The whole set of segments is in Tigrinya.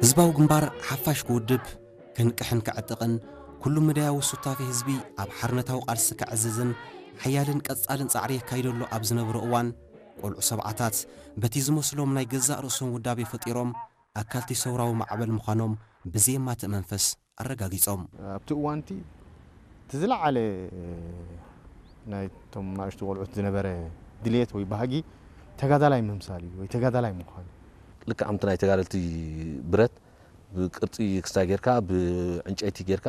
ህዝባዊ ግንባር ሓፋሽ ክውድብ፣ ክንቅሕን ክዕጥቕን፣ ኩሉ መዳያዊ ሱታፌ ህዝቢ ኣብ ሓርነታዊ ቃልሲ ከዕዝዝን ሓያልን ቀጻልን ጻዕሪ የካይደሉ ኣብ ዝነበረ እዋን፣ ቆልዑ ሰብዓታት በቲ ዝመስሎም ናይ ገዛእ ርእሶም ውዳቤ ፈጢሮም ኣካልቲ ሰውራዊ ማዕበል ምዃኖም ብዘየማትእ መንፈስ ኣረጋጊጾም። ኣብቲ እዋንቲ እቲ ዝለዓለ ናይቶም ናእሽቱ ቆልዑት ዝነበረ ድልየት ወይ ባህጊ ተጋዳላይ ምምሳል እዩ ወይ ተጋዳላይ ምዃን እዩ። ልክዕ ከምቲ ናይ ተጋደልቲ ብረት ብቅርጺ ክስታይ ጌርካ ብዕንጨይቲ ጌርካ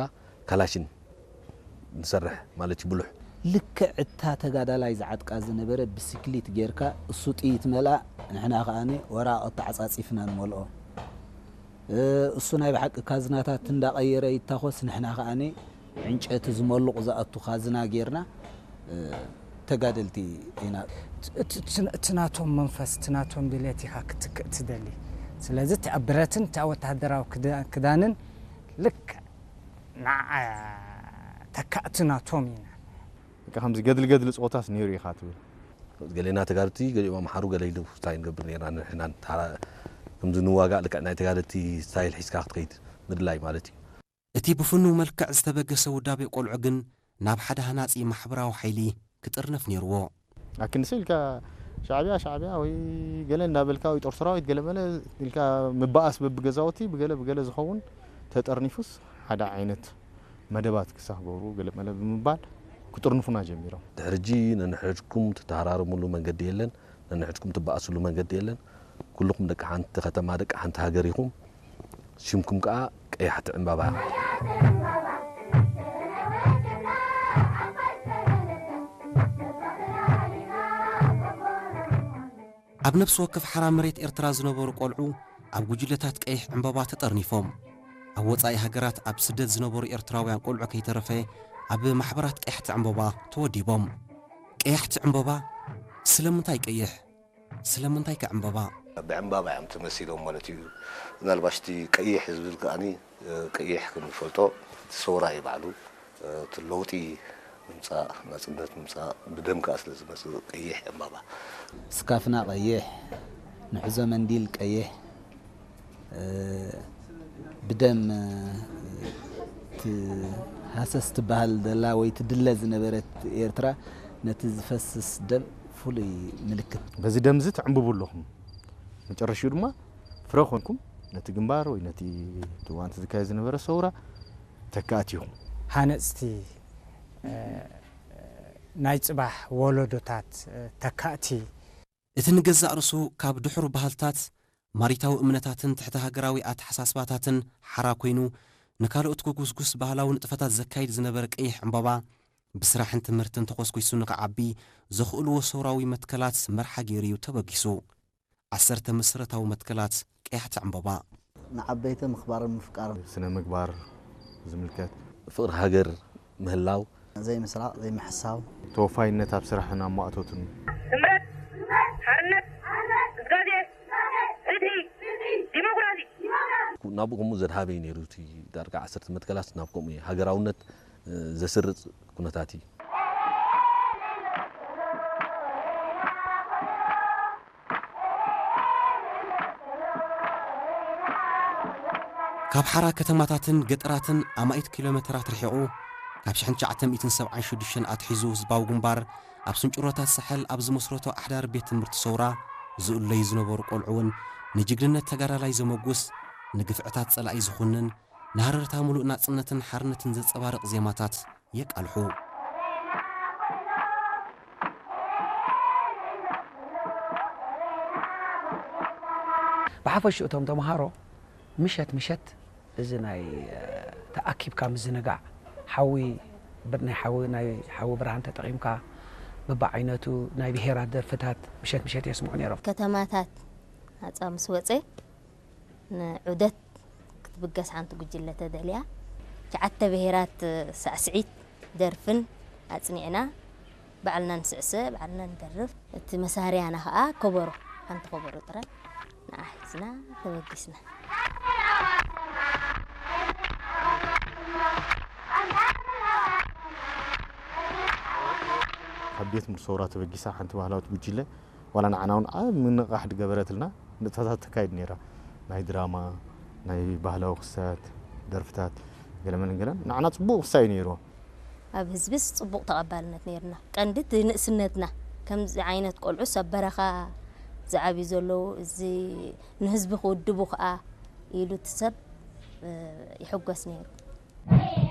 ካላሽን ንሰርሕ ማለት እዩ ብሉሕ። ልክዕ እታ ተጋዳላይ ዝዓጥቃ ዝነበረ ብስክሊት ጌርካ እሱ ጥይት መልኣ ንሕና ከኣ ወራቕቲ ተዓጻጺፍና ንመልኦ። እሱ ናይ ብሓቂ ካዝናታት እንዳቐየረ ይታኾስ ንሕና ከኣ ዕንጨቲ ዝመሉቕ ዝኣቱ ካዝና ጌርና ተጋደልቲ ኢና። እቲ ናቶም መንፈስ እቲ ናቶም ድሌት ኢኻ ክትክእ ትደሊ። ስለዚ እቲ ኣብ ብረትን እቲ ኣብ ወተሃደራዊ ክዳንን ልክዕ ንዓ ተካእቲ ናቶም ኢና። ከምዚ ገድሊ ገድሊ ፆታስ ነይሩ ኢኻ ትብል። ገሌና ተጋድልቲ ገሊኦም ኣምሓሩ ገለ ኢሉ ስታይ ንገብር ነርና ንሕና ከምዚ ንዋጋእ ልክዕ ናይ ተጋደልቲ ስታይል ሒዝካ ክትከይድ ምድላይ ማለት እዩ። እቲ ብፍኑው መልክዕ ዝተበገሰ ውዳቤ ቆልዑ ግን ናብ ሓደ ሃናጺ ማሕበራዊ ሓይሊ ክጥርነፍ ነይርዎ። ኣክንዲ ኢልካ ሻዕብያ ሻዕብያ ወይ ገለ እንዳበልካ ወይ ጦር ሰራዊት ገለ መለ ኢልካ ምባኣስ በብገዛውቲ ብገለ ብገለ ዝኸውን ተጠርኒፉስ ሓደ ዓይነት መደባት ክሳብ ገብሩ ገለ መለ ብምባል ክጥርንፉና ጀሚሮም። ድሕሪ ሕጂ ነንሕድኩም ትተሃራረሙሉ መንገዲ የለን፣ ነንሕድኩም ትበኣስሉ መንገዲ የለን። ኩልኹም ደቂ ሓንቲ ከተማ ደቂ ሓንቲ ሃገር ኢኹም። ሽምኩም ከኣ ቀያሕቲ ዕምባባ። ኣብ ነፍሲ ወከፍ ሓራ መሬት ኤርትራ ዝነበሩ ቆልዑ ኣብ ጉጅለታት ቀይሕ ዕምባባ ተጠርኒፎም። ኣብ ወጻኢ ሃገራት ኣብ ስደት ዝነበሩ ኤርትራውያን ቆልዑ ከይተረፈ ኣብ ማሕበራት ቀያሕቲ ዕምባባ ተወዲቦም። ቀያሕቲ ዕምባባ ስለምንታይ ቀይሕ? ስለምንታይ ከ ዕምባባ? ብዕምባባ እዮም ተመሲሎም ማለት እዩ። ምናልባሽ እቲ ቀይሕ ዝብል ከኣኒ ቀይሕ ክንፈልጦ እቲ ሰውራ እዩ ባዕሉ እቲ ለውጢ ምምፃእ ናፅነት ምምፃእ ብደም ከዓ ስለ ዝመፅእ ቀይሕ ዕምባባ። ስካፍና ቀይሕ፣ ንሕዞ መንዲል ቀይሕ፣ ብደም ትሃሰስ ትበሃል ዘላ ወይ ትድለ ዝነበረት ኤርትራ ነቲ ዝፈስስ ደም ፍሉይ ምልክት። በዚ ደምዚ ትዕምብቡ ኣለኹም። መጨረሽኡ ድማ ፍረ ኮንኩም ነቲ ግንባር ወይ ነቲ እዋንቲ ዝካየድ ዝነበረ ሰውራ ተካእቲ ኢኹም። ሃነፅቲ ናይ ፅባሕ ወለዶታት ተካእቲ። እቲ ንገዛእ ርእሱ ካብ ድሑር ባህልታት፣ ማሪታዊ እምነታትን ትሕተ ሃገራዊ ኣተሓሳስባታትን ሓራ ኮይኑ ንካልኦት ክጉስጉስ ባህላዊ ንጥፈታት ዘካይድ ዝነበረ ቀይሕ ዕምባባ ብስራሕን ትምህርትን ተኾስኲሱ ንኽዓቢ ዘኽእልዎ ሰውራዊ መትከላት መርሓ ገይሩ እዩ ተበጊሱ። ዓሰርተ መሰረታዊ መትከላት ቀያሕቲ ዕምባባ። ንዓበይቲ ምኽባርን ምፍቃርን። ስነ ምግባር ዝምልከት። ፍቕሪ ሃገር ምህላው። ዘይምስራቕ፣ ዘይምሕሳው። ተወፋይነት ኣብ ስራሕን ኣብ ማእቶትን። ስምረት፣ ሓርነት፣ ግስጋሴ፣ ፍትሒ፣ ዲሞክራሲ። ናብኡ ከምኡ ዘድሃበ እዩ ነይሩ እቲ ዳርጋ ዓሰርተ መትከላት ናብ ከምኡ እዩ ሃገራውነት ዘስርጽ ኩነታት እዩ። ካብ ሓራ ከተማታትን ገጠራትን ኣማኢት ኪሎ ሜተራት ርሒቑ፣ ካብ ሽሕን ትሽዓተ ሚእትን ሰብዓን ሽዱሽተን ኣትሒዙ ህዝባዊ ግንባር ኣብ ስንጭሮታት ሳሕል ኣብ ዝመስረቶ ኣሕዳሪ ቤት ትምህርቲ ሰውራ ዝእለዩ ዝነበሩ ቆልዑ እውን ንጅግንነት ተጋዳላይ ዘመጉስ፣ ንግፍዕታት ጸላኢ ዝኹንን፣ ንሃረርታ ምሉእ ናጽነትን ሓርነትን ዘንጸባርቕ ዜማታት የቃልሑ። ብሓፈሽኡ እቶም ተምሃሮ ምሸት ምሸት እዚ ናይ ተኣኪብካ ምዝንጋዕ ሓዊ ናይ ሓዊ ናይ ሓዊ ብርሃን ተጠቒምካ በብዓይነቱ ናይ ብሄራት ደርፍታት ምሸት ምሸት የስምዑ ነይሮም። ከተማታት ናፃ ምስ ወፀ ንዑደት ክትብገስ ሓንቲ ጉጅለ ተደልያ ትሽዓተ ብሄራት ሳዕስዒት ደርፍን ኣፅኒዕና ባዕልና ንስዕስዕ ባዕልና ንደርፍ እቲ መሳርያና ከዓ ከበሮ ሓንቲ ከበሮ ጥራይ ንዓ ሒዝና ተበጊስና። ካብ ቤት ሙርሰውራ ተበጊሳ ሓንቲ ባህላዊት ጉጅለ ዋላ ንዓና እውን ዓብ ምንቕቓሕ ድገበረትልና ንጥፈታት ተካይድ ነይራ ናይ ድራማ ናይ ባህላዊ ክስታት፣ ደርፍታት፣ ገለመን ገለን ንዓና ጽቡቕ ክሳይ ነይርዎ። ኣብ ህዝብስ ጽቡቕ ተቐባልነት ነይርና። ቀንዲ እቲ ንእስነትና ከምዚ ዓይነት ቆልዑስ ኣብ በረኻ ዝዓብዩ ዘለዉ፣ እዚ ንህዝቢ ክውድቡ ከኣ ኢሉ እቲ ሰብ ይሕጎስ ነይሩ።